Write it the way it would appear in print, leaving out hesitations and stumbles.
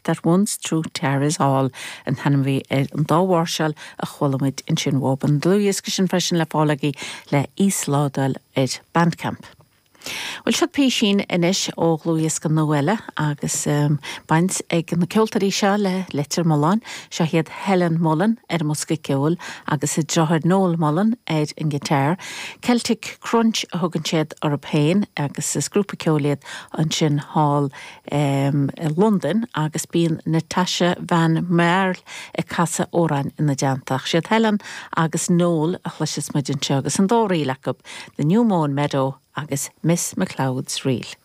That Once Through Tara's Hall an t-ainm a bhí ar an dá mháirseáil a chuala muid ansin uathub. An dlúthdhiosca sin freisin le fáil agaibh le íoslódáil ar Bandcamp. Bhuel, seo písín anois ó dhlúthdhiosca nua eile agus baint ag na ceoltóirí seo le Leitir Mealláin. Seo iad Helen Mullen ar an mbosca ceoil agus a deartháir Noel Mullen ar an ngiotár. Celtic Crunch a thugann siad orthu féin agus is grúpa ceoil iad ansin thall i Londain agus bíonn Natasha Van Marle ag casadh amhráin ina dteannta. Ach siad Helen agus Noel a chloiseas muid anseo agus an dá ríl acu, The New Mown Meadow agus Miss McLeod's Reel.